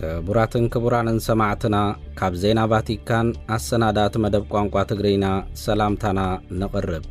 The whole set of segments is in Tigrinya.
ክቡራትን ክቡራንን ሰማዕትና፣ ካብ ዜና ቫቲካን ኣሰናዳእቲ መደብ ቋንቋ ትግርኛ ሰላምታና ነቕርብ።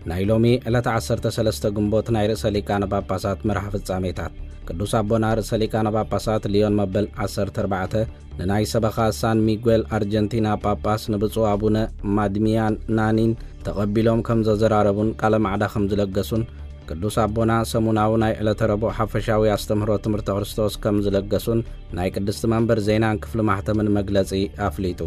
ናይ ሎሚ ዕለት ዓሰርተ ሰለስተ ግንቦት ናይ ርእሰ ሊቃነ ጳጳሳት መርሃ ፍጻሜታት። ቅዱስ ኣቦና ርእሰ ሊቃነ ጳጳሳት ሊዮን መበል ዓሰርተ ኣርባዕተ ንናይ ሰበኻ ሳን ሚጉኤል ኣርጀንቲና ጳጳስ ንብፁዕ ኣቡነ ማድሚያን ናኒን ተቐቢሎም ከም ዘዘራረቡን ቃለ ማዕዳ ከም ዝለገሱን፣ ቅዱስ ኣቦና ሰሙናዊ ናይ ዕለተ ረቡዕ ሓፈሻዊ ኣስተምህሮ ትምህርተ ክርስቶስ ከም ዝለገሱን ናይ ቅድስቲ መንበር ዜናን ክፍሊ ማሕተምን መግለጺ ኣፍሊጡ።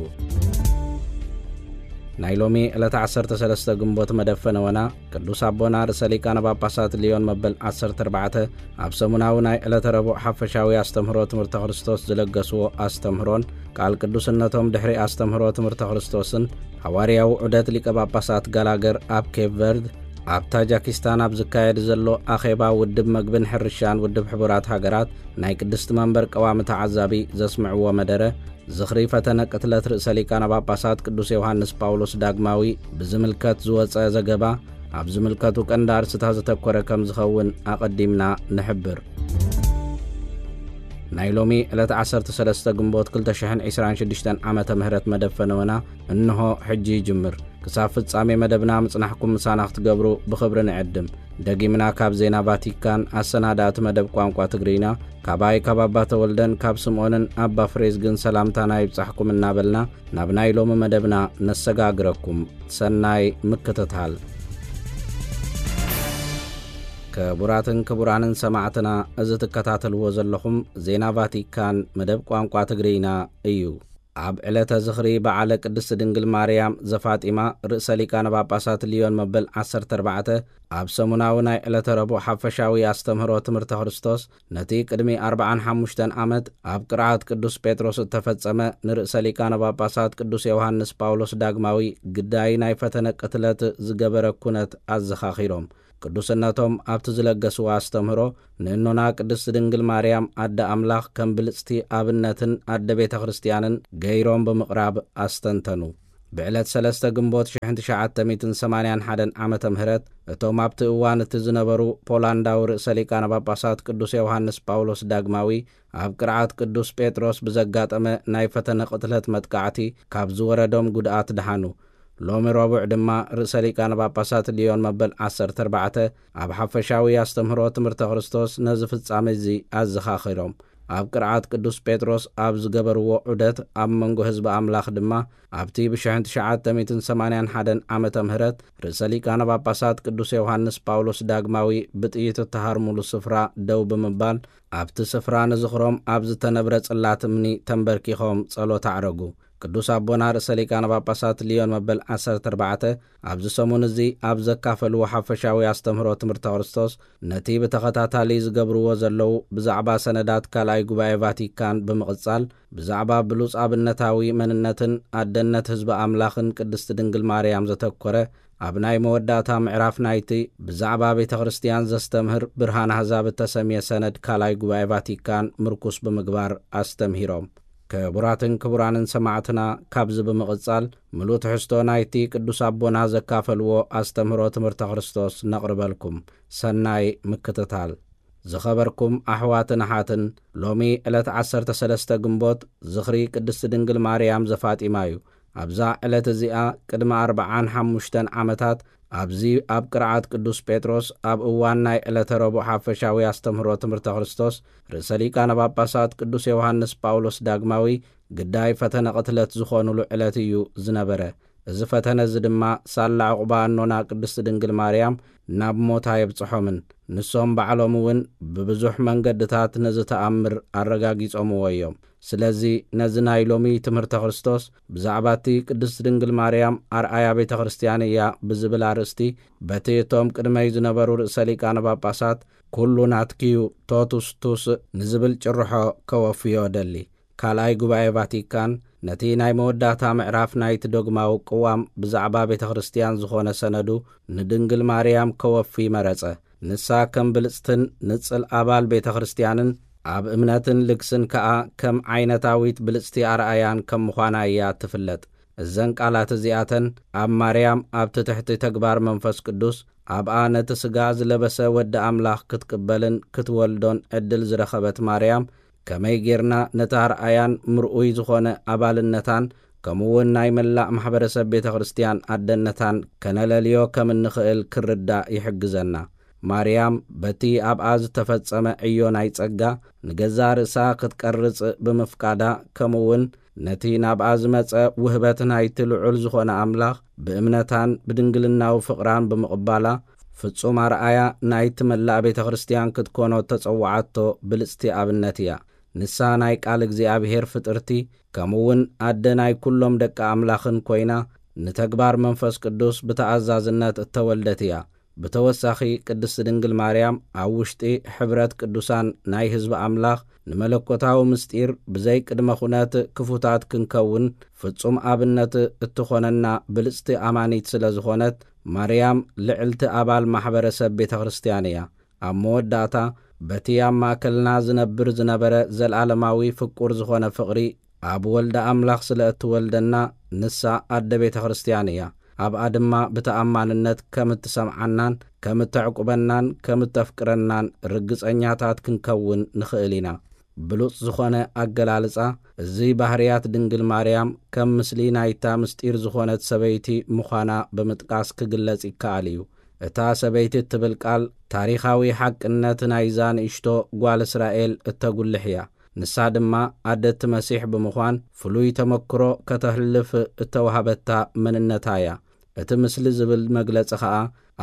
ናይ ሎሚ ዕለተ ዓሰርተ ሰለስተ ግንቦት መደብ ፈነወና፣ ቅዱስ ኣቦና ርእሰ ሊቃነ ጳጳሳት ሊዮን መበል ዓሰርተ ኣርባዕተ ኣብ ሰሙናዊ ናይ ዕለተ ረቡዕ ሓፈሻዊ ኣስተምህሮ ትምህርተ ክርስቶስ ዝለገስዎ ኣስተምህሮን፣ ቃል ቅዱስነቶም ድሕሪ ኣስተምህሮ ትምህርተ ክርስቶስን፣ ሃዋርያዊ ዑደት ሊቀ ጳጳሳት ጋላገር ኣብ ኬፕ ቨርድ፣ ኣብ ታጃኪስታን ኣብ ዝካየድ ዘሎ ኣኼባ ውድብ መግብን ሕርሻን ውድብ ሕቡራት ሃገራት፣ ናይ ቅድስቲ መንበር ቀዋሚ ተዓዛቢ ዘስምዕዎ መደረ፣ ዝኽሪ ፈተነ ቅትለት ርእሰ ሊቃነ ጳጳሳት ቅዱስ ዮሃንስ ጳውሎስ ዳግማዊ ብዝምልከት ዝወጸ ዘገባ፣ ኣብ ዝምልከቱ ቀንዲ ኣርስታት ዘተኮረ ከም ዝኸውን ኣቐዲምና ንሕብር። ናይ ሎሚ ዕለት ዓሰርተ ሰለስተ ግንቦት ክልተ ሽሕን ዕስራን ሽዱሽተን ዓመተ ምህረት መደብ ፈነወና እንሆ ሕጂ ይጅምር። ክሳብ ፍጻሜ መደብና ምጽናሕኩም ምሳና ክትገብሩ ብኽብሪ ንዕድም። ደጊምና ካብ ዜና ቫቲካን ኣሰናዳእቲ መደብ ቋንቋ ትግርኛ፣ ካባይ ካብ ኣባ ተወልደን ካብ ስምዖንን ኣባ ፍሬዝግን ሰላምታና ይብጻሕኩም እናበልና፣ ናብ ናይ ሎሚ መደብና ነሰጋግረኩም። ሰናይ ምክትታል። ክቡራትን ክቡራንን ሰማዕትና፣ እዚ ትከታተልዎ ዘለኹም ዜና ቫቲካን መደብ ቋንቋ ትግርኛ እዩ። ኣብ ዕለተ ዝኽሪ በዓለ ቅድስቲ ድንግል ማርያም ዘፋጢማ ርእሰ ሊቃነ ጳጳሳት ሊዮን መበል ዓሰርተ ኣርባዕተ ኣብ ሰሙናዊ ናይ ዕለተ ረቡዕ ሓፈሻዊ ኣስተምህሮ ትምህርተ ክርስቶስ፣ ነቲ ቅድሚ ኣርብዓን ሓሙሽተን ዓመት ኣብ ቅርዓት ቅዱስ ጴጥሮስ እተፈጸመ ንርእሰ ሊቃነ ጳጳሳት ቅዱስ ዮሃንስ ጳውሎስ ዳግማዊ ግዳይ ናይ ፈተነ ቅትለት ዝገበረ ኩነት ኣዘኻኺሮም። ቅዱስነቶም ኣብቲ ዝለገስዎ ኣስተምህሮ፣ ንእኖና ቅድስቲ ድንግል ማርያም ኣደ ኣምላኽ ከም ብልጽቲ ኣብነትን ኣደ ቤተ ክርስቲያንን ገይሮም ብምቕራብ ኣስተንተኑ። ብዕለት ሰለስተ ግንቦት ሽሕን ትሽዓተ ሚእትን ሰማንያን ሓደን ዓመተ ምህረት፣ እቶም ኣብቲ እዋን እቲ ዝነበሩ ፖላንዳዊ ርእሰ ሊቃነ ጳጳሳት ቅዱስ ዮሃንስ ጳውሎስ ዳግማዊ ኣብ ቅርዓት ቅዱስ ጴጥሮስ ብዘጋጠመ ናይ ፈተነ ቅትለት መጥቃዕቲ ካብ ዝወረዶም ጉድኣት ደሓኑ። ሎሚ ረቡዕ ድማ ርእሰ ሊቃነ ጳጳሳት ሊዮን መበል ዓሰርተ ኣርባዕተ ኣብ ሓፈሻዊ ኣስተምህሮ ትምህርተ ክርስቶስ ነዚ ፍጻሜ እዚ ኣዘኻኺሮም። ኣብ ቅርዓት ቅዱስ ጴጥሮስ ኣብ ዝገበርዎ ዑደት፣ ኣብ መንጎ ህዝቢ ኣምላኽ ድማ ኣብቲ ብሽሕን ትሽዓተ ሚእትን ሰማንያን ሓደን ዓመተ ምህረት ርእሰ ሊቃነ ጳጳሳት ቅዱስ ዮሃንስ ጳውሎስ ዳግማዊ ብጥይት እተሃርሙሉ ስፍራ ደው ብምባል፣ ኣብቲ ስፍራ ንዝኽሮም ኣብ ዝተነብረ ጽላት እምኒ ተንበርኪኾም ጸሎት ኣዕረጉ። ቅዱስ ኣቦና ርእሰ ሊቃነ ጳጳሳት ሊዮን መበል ዓሰርተ ኣርባዕተ ኣብዚ ሰሙን እዚ ኣብ ዘካፈልዎ ሓፈሻዊ ኣስተምህሮ ትምህርተ ክርስቶስ፣ ነቲ ብተኸታታሊ ዝገብርዎ ዘለዉ ብዛዕባ ሰነዳት ካልኣይ ጉባኤ ቫቲካን ብምቕጻል፣ ብዛዕባ ብሉጽ ኣብነታዊ መንነትን ኣደነት ህዝቢ ኣምላኽን ቅድስቲ ድንግል ማርያም ዘተኮረ፣ ኣብ ናይ መወዳእታ ምዕራፍ ናይቲ ብዛዕባ ቤተ ክርስቲያን ዘስተምህር ብርሃን ኣህዛብ እተሰምየ ሰነድ ካልኣይ ጉባኤ ቫቲካን ምርኩስ ብምግባር ኣስተምሂሮም። ክቡራትን ክቡራንን ሰማዕትና፣ ካብዚ ብምቕጻል ምሉእ ትሕዝቶ ናይቲ ቅዱስ ኣቦና ዘካፈልዎ ኣስተምህሮ ትምህርተ ክርስቶስ ነቕርበልኩም። ሰናይ ምክትታል። ዝኸበርኩም ኣሕዋትን ኣሓትን፣ ሎሚ ዕለት ዓሰርተ ሰለስተ ግንቦት ዝኽሪ ቅድስቲ ድንግል ማርያም ዘፋጢማ እዩ። ኣብዛ ዕለት እዚኣ ቅድሚ ኣርብዓን ሓሙሽተን ዓመታት ኣብዚ ኣብ ቅርዓት ቅዱስ ጴጥሮስ ኣብ እዋን ናይ ዕለተ ረቡዕ ሓፈሻዊ ኣስተምህሮ ትምህርተ ክርስቶስ ርእሰ ሊቃነ ጳጳሳት ቅዱስ ዮሃንስ ጳውሎስ ዳግማዊ ግዳይ ፈተነ ቅትለት ዝኾኑሉ ዕለት እዩ ዝነበረ። እዚ ፈተነ እዚ ድማ ሳላ ዕቑባ እኖና ቅድስቲ ድንግል ማርያም ናብ ሞት ኣየብጽሖምን። ንሶም ባዕሎም እውን ብብዙሕ መንገድታት ነዚ ተኣምር ኣረጋጊጾምዎ እዮም። ስለዚ ነዚ ናይ ሎሚ ትምህርተ ክርስቶስ ብዛዕባ እቲ ቅድስቲ ድንግል ማርያም ኣርኣያ ቤተ ክርስቲያን እያ ብዝብል ኣርእስቲ በቲ እቶም ቅድመይ ዝነበሩ ርእሰ ሊቃነ ጳጳሳት ኩሉ ናትኪዩ ቶቱስ ቱስ ንዝብል ጭርሖ ከወፍዮ እደሊ። ካልኣይ ጉባኤ ቫቲካን ነቲ ናይ መወዳእታ ምዕራፍ ናይቲ ዶግማዊ ቅዋም ብዛዕባ ቤተ ክርስቲያን ዝኾነ ሰነዱ ንድንግል ማርያም ከወፊ መረጸ። ንሳ ከም ብልጽትን ንጽል ኣባል ቤተ ክርስቲያንን ኣብ እምነትን ልግስን ከኣ ከም ዓይነታዊት ብልጽቲ ኣርኣያን ከም ምዃና እያ ትፍለጥ። እዘን ቃላት እዚኣተን ኣብ ማርያም ኣብቲ ትሕቲ ተግባር መንፈስ ቅዱስ ኣብኣ ነቲ ስጋ ዝለበሰ ወዲ ኣምላኽ ክትቅበልን ክትወልዶን ዕድል ዝረኸበት ማርያም ከመይ ጌርና ነቲ ኣርኣያን ምርኡይ ዝኾነ ኣባልነታን ከምኡውን ናይ መላእ ማሕበረሰብ ቤተ ክርስቲያን ኣደነታን ከነለልዮ ከም እንኽእል ክርዳእ ይሕግዘና። ማርያም በቲ ኣብኣ ዝተፈጸመ ዕዮ ናይ ጸጋ ንገዛእ ርእሳ ክትቀርጽ ብምፍቃዳ፣ ከምኡውን ነቲ ናብኣ ዝመጸ ውህበት ናይቲ ልዑል ዝኾነ ኣምላኽ ብእምነታን ብድንግልናዊ ፍቕራን ብምቕባላ፣ ፍጹም ኣርኣያ ናይቲ መላእ ቤተ ክርስቲያን ክትኮኖ እተጸውዓቶ ብልጽቲ ኣብነት እያ። ንሳ ናይ ቃል እግዚኣብሔር ፍጥርቲ፣ ከምኡውን ኣደ ናይ ኩሎም ደቂ ኣምላኽን ኮይና፣ ንተግባር መንፈስ ቅዱስ ብተኣዛዝነት እተወልደት እያ። ብተወሳኺ፣ ቅድስቲ ድንግል ማርያም ኣብ ውሽጢ ሕብረት ቅዱሳን ናይ ህዝቢ ኣምላኽ ንመለኮታዊ ምስጢር ብዘይ ቅድመ ኩነት ክፉታት ክንከውን ፍጹም ኣብነት እትኾነና ብልጽቲ ኣማኒት ስለ ዝኾነት፣ ማርያም ልዕልቲ ኣባል ማሕበረሰብ ቤተ ክርስቲያን እያ። ኣብ መወዳእታ፣ በቲ ኣብ ማእከልና ዝነብር ዝነበረ ዘለዓለማዊ ፍቁር ዝኾነ ፍቕሪ ኣብ ወልደ ኣምላኽ ስለ እትወልደና፣ ንሳ ኣደ ቤተ ክርስቲያን እያ። ኣብኣ ድማ ብተኣማንነት ከም እትሰምዓናን ከም እተዕቁበናን ከም እተፍቅረናን ርግጸኛታት ክንከውን ንኽእል ኢና። ብሉጽ ዝኾነ ኣገላልጻ፣ እዚ ባህርያት ድንግል ማርያም ከም ምስሊ ናይታ ምስጢር ዝኾነት ሰበይቲ ምዃና ብምጥቃስ ክግለጽ ይከኣል እዩ። እታ ሰበይቲ እትብል ቃል ታሪኻዊ ሓቅነት ናይዛ ንእሽቶ ጓል እስራኤል እተጉልሕ እያ። ንሳ ድማ ኣደቲ መሲሕ ብምዃን ፍሉይ ተመክሮ ከተሕልፍ እተዋህበታ መንነታ እያ። እቲ ምስሊ ዝብል መግለጺ ኸኣ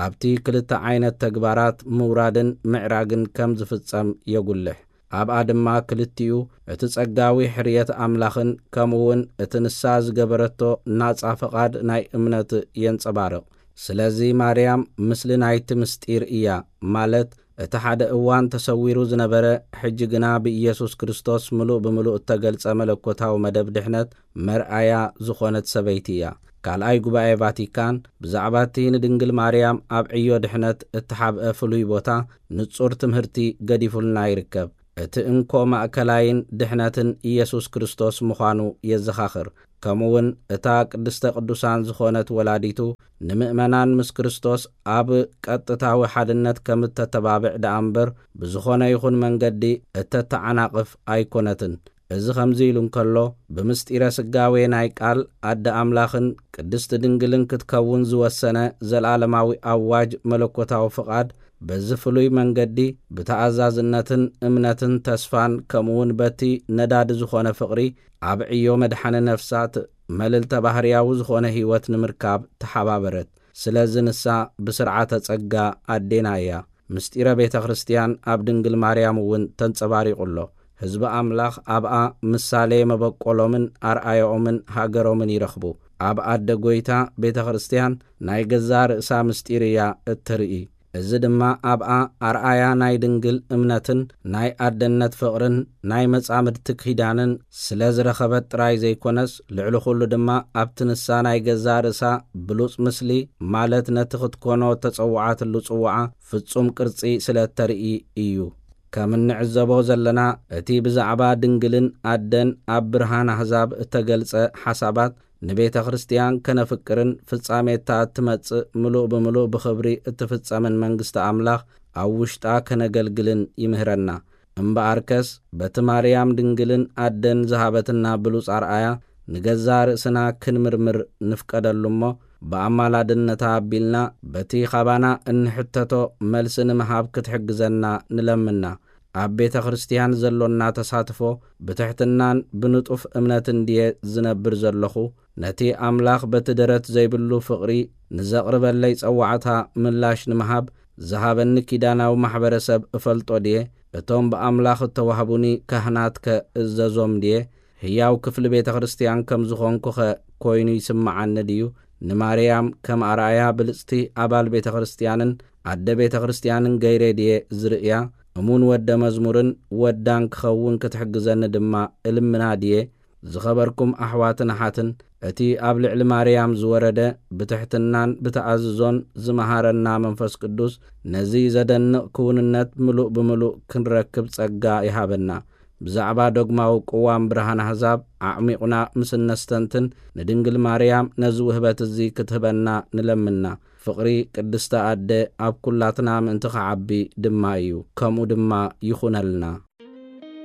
ኣብቲ ክልተ ዓይነት ተግባራት ምውራድን ምዕራግን ከም ዝፍጸም የጉልሕ። ኣብኣ ድማ ክልቲኡ እቲ ጸጋዊ ሕርየት ኣምላኽን ከምኡውን እቲ ንሳ ዝገበረቶ ናጻ ፍቓድ ናይ እምነት የንጸባርቕ። ስለዚ ማርያም ምስሊ ናይቲ ምስጢር እያ፣ ማለት እቲ ሓደ እዋን ተሰዊሩ ዝነበረ፣ ሕጂ ግና ብኢየሱስ ክርስቶስ ምሉእ ብምሉእ እተገልጸ መለኮታዊ መደብ ድሕነት መርኣያ ዝኾነት ሰበይቲ እያ። ካልኣይ ጉባኤ ቫቲካን ብዛዕባ እቲ ንድንግል ማርያም ኣብ ዕዮ ድሕነት እተሓብአ ፍሉይ ቦታ ንጹር ትምህርቲ ገዲፉልና ይርከብ። እቲ እንኮ ማእከላይን ድሕነትን ኢየሱስ ክርስቶስ ምዃኑ የዘኻኽር። ከምኡውን እታ ቅድስተ ቅዱሳን ዝኾነት ወላዲቱ ንምእመናን ምስ ክርስቶስ ኣብ ቀጥታዊ ሓድነት ከም እተተባብዕ ደኣ እምበር፣ ብዝኾነ ይኹን መንገዲ እተተዓናቕፍ ኣይኮነትን። እዚ ከምዚ ኢሉ እንከሎ፣ ብምስጢረ ስጋዌ ናይ ቃል ኣደ ኣምላኽን ቅድስቲ ድንግልን ክትከውን ዝወሰነ ዘለዓለማዊ ኣዋጅ መለኮታዊ ፍቓድ፣ በዚ ፍሉይ መንገዲ ብተኣዛዝነትን እምነትን ተስፋን ከምኡውን በቲ ነዳዲ ዝኾነ ፍቕሪ ኣብ ዕዮ መድሓኒ ነፍሳት መልዕልተ ባህርያዊ ዝኾነ ህይወት ንምርካብ ተሓባበረት። ስለዚ ንሳ ብስርዓተ ጸጋ ኣዴና እያ። ምስጢረ ቤተ ክርስቲያን ኣብ ድንግል ማርያም እውን ተንጸባሪቑ ኣሎ። ህዝቢ ኣምላኽ ኣብኣ ምሳሌ መበቆሎምን ኣርኣያኦምን ሃገሮምን ይረኽቡ። ኣብ ኣደ ጐይታ ቤተ ክርስቲያን ናይ ገዛእ ርእሳ ምስጢር እያ እትርኢ። እዚ ድማ ኣብኣ ኣርኣያ ናይ ድንግል እምነትን ናይ ኣደነት ፍቕርን ናይ መጻምድቲ ኪዳንን ስለ ዝረኸበት ጥራይ ዘይኮነስ፣ ልዕሊ ኹሉ ድማ ኣብቲ ንሳ ናይ ገዛእ ርእሳ ብሉጽ ምስሊ፣ ማለት ነቲ ክትኮኖ እተጸውዓትሉ ጽውዓ ፍጹም ቅርጺ ስለ እተርኢ እዩ። ከም እንዕዘቦ ዘለና፣ እቲ ብዛዕባ ድንግልን ኣደን ኣብ ብርሃን ኣህዛብ እተገልጸ ሓሳባት፣ ንቤተ ክርስቲያን ከነፍቅርን ፍጻሜታ እትመጽእ ምሉእ ብምሉእ ብኽብሪ እትፍጸምን መንግስቲ ኣምላኽ ኣብ ውሽጣ ከነገልግልን ይምህረና። እምበኣርከስ፣ በቲ ማርያም ድንግልን ኣደን ዝሃበትና ብሉጽ ኣርኣያ፣ ንገዛእ ርእስና ክንምርምር ንፍቀደሉ እሞ፣ ብኣማላድነታ ኣቢልና በቲ ኻባና እንሕተቶ መልሲ ንምሃብ ክትሕግዘና ንለምና። ኣብ ቤተ ክርስቲያን ዘሎና ተሳትፎ ብትሕትናን ብንጡፍ እምነትን ድየ ዝነብር ዘለኹ? ነቲ ኣምላኽ በቲ ደረት ዘይብሉ ፍቕሪ ንዘቕርበለይ ጸዋዕታ ምላሽ ንምሃብ ዝሃበኒ ኪዳናዊ ማሕበረሰብ እፈልጦ ድየ? እቶም ብኣምላኽ እተዋህቡኒ ካህናትከ እእዘዞም ድየ? ህያው ክፍሊ ቤተ ክርስቲያን ከም ዝኾንኩኸ ኮይኑ ይስምዓኒ ድዩ? ንማርያም ከም ኣርኣያ ብልጽቲ ኣባል ቤተ ክርስቲያንን ኣደ ቤተ ክርስቲያንን ገይረ ድየ ዝርእያ? እሙን ወደ መዝሙርን ወዳን ክኸውን ክትሕግዘኒ ድማ እልምና ድየ? ዝኸበርኩም ኣሕዋትን ኣሓትን፣ እቲ ኣብ ልዕሊ ማርያም ዝወረደ ብትሕትናን ብተኣዝዞን ዝመሃረና መንፈስ ቅዱስ፣ ነዚ ዘደንቕ ክውንነት ምሉእ ብምሉእ ክንረክብ ጸጋ ይሃበና። ብዛዕባ ዶግማዊ ቅዋም ብርሃን ኣህዛብ ኣዕሚቑና ምስ እነስተንትን፣ ንድንግል ማርያም ነዚ ውህበት እዚ ክትህበና ንለምና። ፍቕሪ ቅድስቲ ኣደ ኣብ ኩላትና ምእንቲ ኸዓቢ ድማ እዩ። ከምኡ ድማ ይኹነልና።